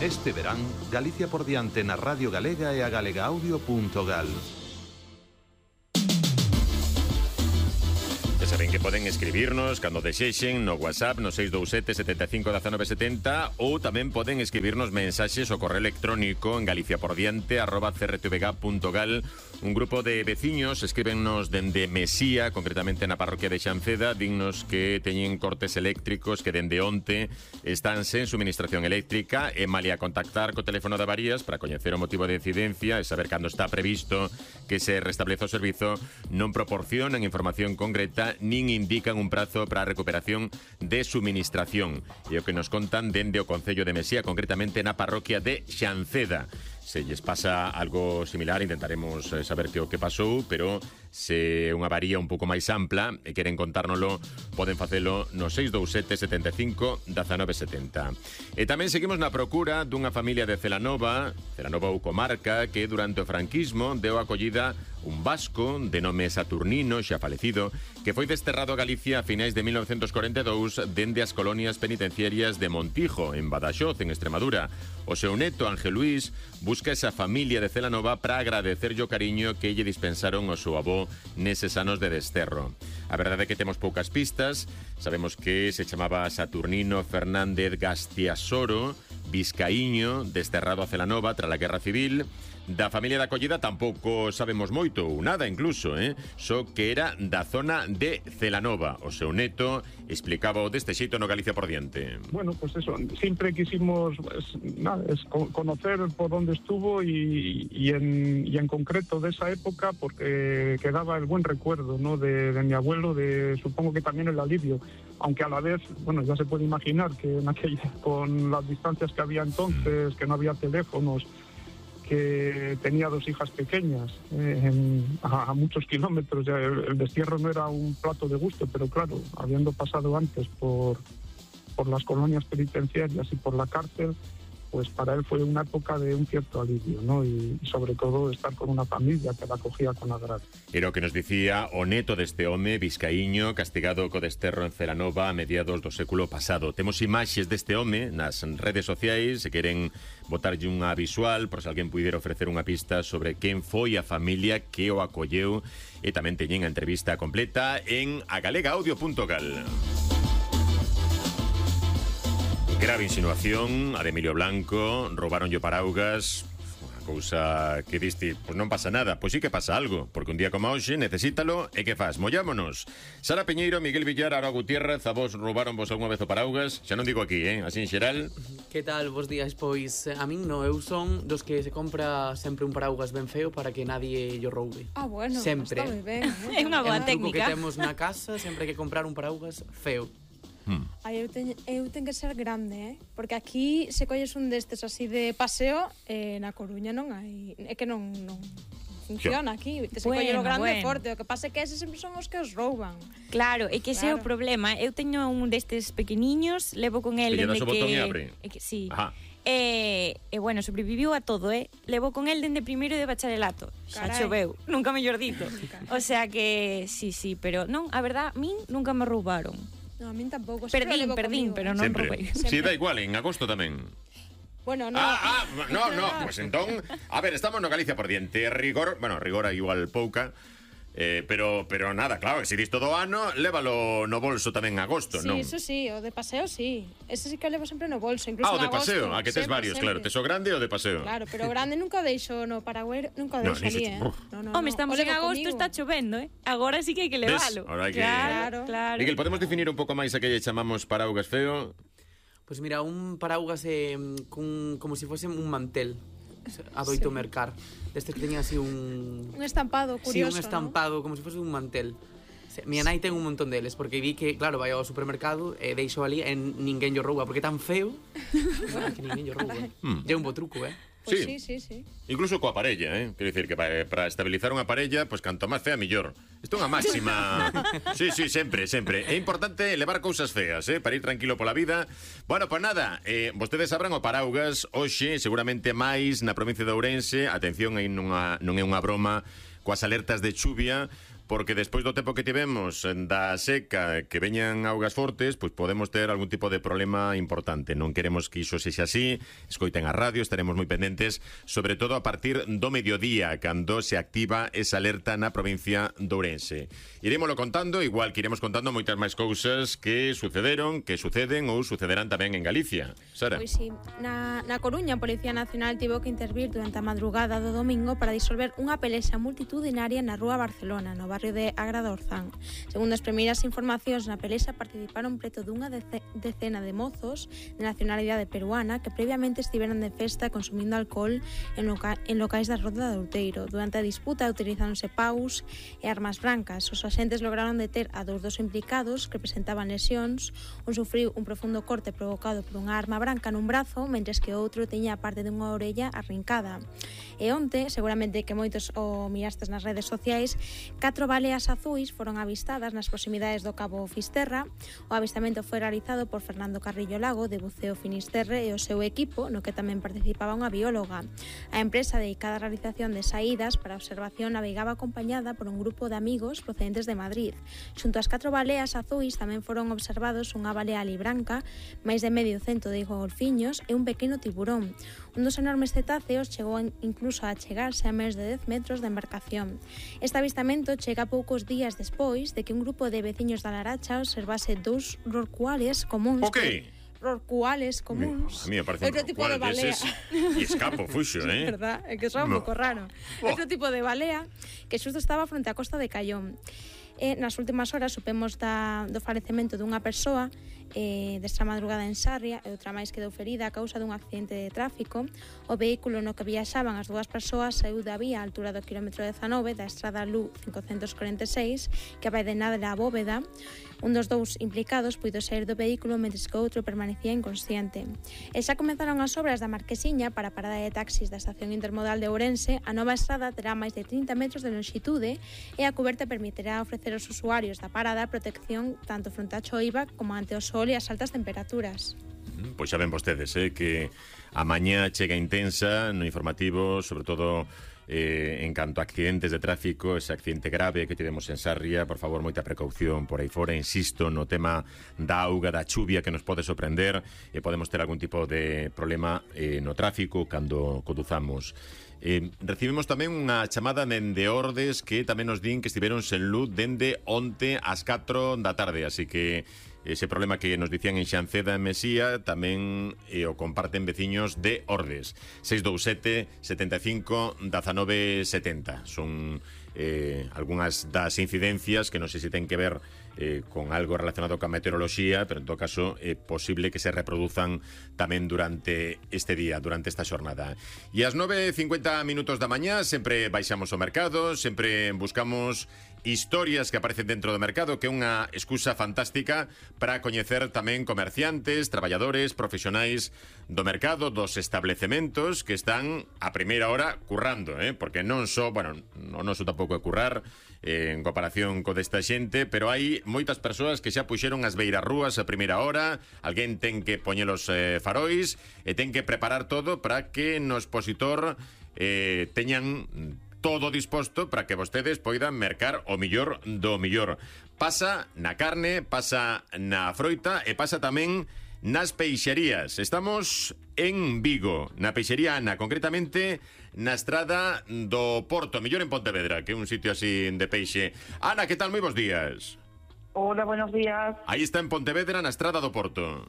Este verán, Galicia por diante na Radio Galega e a galegaaudio.gal. Ya saben que poden escribirnos cando desexen no WhatsApp no 627 75 19 70 ou tamén poden escribirnos mensaxes ao correo electrónico en galiciapordiante@crtvg.gal. Un grupo de veciños escríbennos dende Mesía, concretamente na parroquia de Xanceda, dignos que teñen cortes eléctricos que dende onte están sen suministración eléctrica e malia contactar co teléfono de avarías para coñecer o motivo de incidencia e saber cando está previsto que se restableza o servizo, non proporcionan información concreta nin indican un prazo para a recuperación de suministración. E o que nos contan dende o Concello de Mesía, concretamente na parroquia de Xanceda. Se lles pasa algo similar, intentaremos saber que o que pasou, pero se é unha avaría un pouco máis ampla e queren contárnoslo, poden facelo no 627 75 19 70. E tamén seguimos na procura dunha familia de Celanova ou comarca, que durante o franquismo deu acollida un vasco de nome Saturnino, xa falecido, que foi desterrado a Galicia a finais de 1942 dende as colonias penitenciarias de Montijo, en Badaxoz, en Extremadura. O seu neto, Ángel Luis, busca esa familia de Celanova para agradecerlle o cariño que lle dispensaron o seu avó neses anos de desterro. A verdade é que temos poucas pistas. Sabemos que se chamaba Saturnino Fernández Gastiasoro, vizcaíño, desterrado a Celanova tras a Guerra Civil. Da familia de acollida tampouco sabemos moito, ou nada incluso, só que era da zona de Celanova. O seu neto explicaba deste xeito no Galicia por diante. Bueno, pues eso, siempre quisimos conocer por dónde estuvo y en concreto de esa época, porque quedaba el buen recuerdo, ¿no?, de mi abuelo, supongo que también el alivio, aunque a la vez, bueno, ya se puede imaginar que con las distancias que había entonces, que no había teléfonos, que tenía 2 hijas pequeñas a muchos kilómetros. Ya el destierro no era un plato de gusto, pero claro, habiendo pasado antes por las colonias penitenciarias y por la cárcel, pues para él fue una época de un cierto alivio, ¿no? Y sobre todo estar con una familia que la acogía con agrado. Era o que nos dicía o neto deste home vizcaíño castigado co desterro en Celanova a mediados do século pasado. Temos imaxes deste home nas redes sociais, se queren botarlle unha visual, por se alguén puidera ofrecer unha pista sobre quen foi a familia que o acolleu, e tamén teñen a entrevista completa en agalegaaudio.gal. Grave insinuación a de Emilio Blanco, roubaronlle o paraugas, unha cousa que diste, pois non pasa nada, pois sí que pasa algo, porque un día como hoxe necesítalo e que faz, mollámonos. Sara Peñeiro, Miguel Villar, Ara Gutiérrez, a vos roubaronvos algunha vez o paraugas? Xa non digo aquí, así en xeral. Que tal, vos días? Pois a min no, eu son dos que se compra sempre un paraugas ben feo para que nadie yo roube. Bueno, sempre. Está moi ben. É unha boa técnica. É un truco que temos na casa, sempre hai que comprar un paraugas feo. Eu ten que ser grande, porque aquí se colles un destes así de paseo, na Coruña non hai, é que non funciona aquí, te se colle o grande forte, o que pasa é que eses sempre son os que os rouban. Claro, é que ese é o problema. Eu teño un destes pequeniños, levo con el dende que sí. Ajá. Bueno, sobreviviu a todo, levo con el dende primeiro de bacharelato. Xa choveu, nunca mellor dito. O sea que, sí, pero non, a verdad, min nunca me roubaron. No, a min tampouco. Perdín, pero non roubei. Si, da igual, en agosto tamén. Bueno, no. No, pues entón, a ver, estamos no Galicia por diante, rigor igual pouca. Pero nada, claro, se dis todo o ano, lévalo no bolso tamén en agosto, sí, non? Sí, eso sí, o de paseo sí. Ese sí que o levo sempre no bolso, incluso o de agosto, paseo, a que tes varios, claro. Tes o grande ou de paseo? Claro, pero o grande nunca o deixo no paragüero, nunca o deixo ali, Home, estamos en agosto, está chovendo, Agora sí que hai que levalo. Claro. Miguel, podemos definir un pouco máis a que lle chamamos paraugas feo? Pois mira, un paraugas como se fose un mantel. Adoito mercar. Destes que teña así un estampado curioso, un estampado, ¿no? Como se fose un mantel. Mi nai ten un montón deles, porque vi que, claro, vai ao supermercado e deixo ali e ninguén yo rouba, porque é tan feo que ninguén yo rouba. É un bo truco, Pues sí. Incluso coa parella, Quero dicir que para estabilizar unha parella, pois canto máis fea, millor. Isto é unha máxima. Sí, sempre. É importante levar cousas feas, para ir tranquilo pola vida. Bueno, pois nada, vostedes abran o paraugas hoxe, seguramente máis na provincia de Ourense. Atención, aí non é unha broma coas alertas de chuvia, porque despois do tempo que tivemos da seca, que veñan augas fortes, pois podemos ter algún tipo de problema importante. Non queremos que iso sexa así. Escoiten a radio, estaremos moi pendentes, sobre todo a partir do mediodía, cando se activa esa alerta na provincia de Ourense. Irémoslo contando, igual que iremos contando moitas máis cousas que sucederon, que suceden ou sucederán tamén en Galicia. Sara? Pois sí, na Coruña a Policía Nacional tivo que intervir durante a madrugada do domingo para disolver unha pelexa multitudinaria na rúa Barcelona, no barrio de Agra do Orzán. Segundo as primeiras informacións, na pelexa participaron preto dunha decena de mozos de nacionalidade peruana que previamente estiveran de festa consumindo alcohol en locais da Roda de Outeiro. Durante a disputa utilizáronse paus e armas brancas. Os axentes lograron deter a dos implicados que presentaban lesións. Un sufriu un profundo corte provocado por unha arma branca nun brazo, mentres que o outro teña a parte dunha orella arrincada. E onte, seguramente que moitos o mirastes nas redes sociais, 4 baleas azuis foron avistadas nas proximidades do Cabo Fisterra. O avistamento foi realizado por Fernando Carrillo Lago, de Buceo Finisterre, e o seu equipo, no que tamén participaba unha bióloga. A empresa dedicada á realización de saídas para observación navegaba acompañada por un grupo de amigos procedentes de Madrid. Xunto ás 4 baleas azuis tamén foron observados unha balea libranca, máis de medio cento de golfiños e un pequeno tiburón. Un dos enormes cetáceos chegou incluso a chegarse a máis de 10 metros de embarcación. Este avistamento chega poucos días despois de que un grupo de veciños da Laracha observase 2 rorcuales comuns. Rorcuales comuns. A mí me parece outro tipo de balea. E escapo, fuxo, Verdad, é que son un pouco raro. Outro tipo de balea que xusto estaba fronte á costa de Caión. E nas últimas horas supemos do falecemento dunha persoa desta madrugada en Sarria e outra máis quedou ferida a causa dun accidente de tráfico. O vehículo no que viaxaban as dúas persoas saiu da vía á altura do quilómetro 19 da estrada LU 546 que vai de Nadra a Bóveda. Un dos dous implicados puido sair do vehículo mentres que o outro permanecía inconsciente. E xa comenzaron as obras da Marquesiña para a parada de taxis da estación intermodal de Ourense. A nova estrada terá máis de 30 metros de longitude e a cuberta permitirá ofrecer aos usuarios da parada protección tanto fronte á choiva como ante o sol e as altas temperaturas. Pois xa ven vostedes, que a mañá chega intensa no informativo, sobre todo en canto a accidentes de tráfico, ese accidente grave que tivemos en Sarria. Por favor, moita precaución por aí fora. Insisto no tema da auga, da chuvia que nos pode sorprender e podemos ter algún tipo de problema no tráfico cando conduzamos. Recibimos tamén unha chamada dende Ordes que tamén nos din que estiveron sen luz dende onte ás 4 da tarde, así que ese problema que nos dicían en Xanceda e Mesía tamén o comparten veciños de Ordes. 627 75 19 70 son algunhas das incidencias que non sei se ten que ver con algo relacionado coa meteoroloxía, pero en todo caso é posible que se reproduzan tamén durante este día, durante esta xornada. E ás 9:50 minutos da mañá sempre baixamos ao mercado, sempre buscamos historias que aparecen dentro do mercado, que é unha excusa fantástica para coñecer tamén comerciantes, traballadores, profesionais do mercado, dos establecementos que están a primeira hora currando, porque non só, bueno, non noso tampouco é currar en comparación co desta xente, pero hai moitas persoas que xa puxeron as beirarrúas a primeira hora, alguén ten que poñer os farois e ten que preparar todo para que no expositor teñan todo disposto para que vostedes poidan mercar o millor do millor. Pasa na carne, pasa na froita e pasa tamén nas peixerías. Estamos en Vigo, na peixería Ana, concretamente na estrada do Porto, mellor en Pontevedra, que é un sitio así de peixe. Ana, que tal? Moi bons días. Hola, buenos días. Aí está en Pontevedra, na estrada do Porto.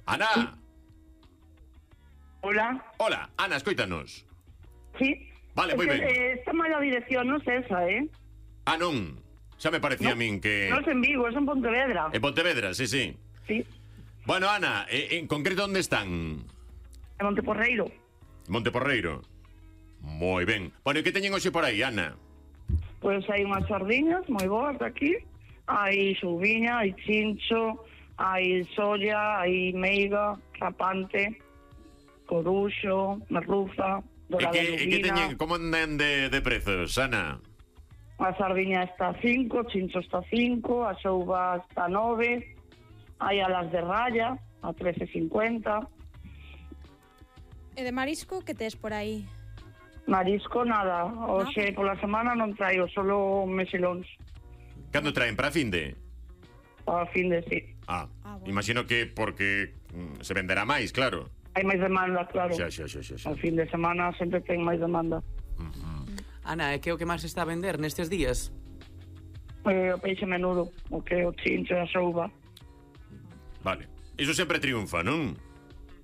Ana. Sí. Hola. Hola, Ana, escoítanos. Sí. Vale, moi ben. Está mala dirección, non sei esa, Ah, non. Xa me parecía a min que... Non é en Vigo, é en Pontevedra. En Pontevedra, sí, sí. Sí. Bueno, Ana, en concreto, onde están? En Monteporreiro. Monteporreiro. Moi ben. Bueno, e que teñen hoxe por aí, Ana? Pois hai unhas sardiñas moi boas aquí. Hai xuviña, hai chincho, hai solla, hai meiga, rapante, coruxo, merluza, dorada lubina. E que teñen, como andan de prezos, Ana? A sardiña está 5, chincho está 5, a xouba está 9, hai alas de raya a 13,50. E de marisco, que tes por aí? Marisco nada, hoxe pola semana non traio, solo mesilóns. Cando traen para a fin de? Para a fin de, sí. Bueno. Imagino que porque se venderá máis, claro. Hai máis demanda, claro. Xa. A fin de semana sempre ten máis demanda. Ana, que é o que máis está a vender nestes días? O peixe menudo, o que o chincho e a souba. Vale. Iso sempre triunfa, non?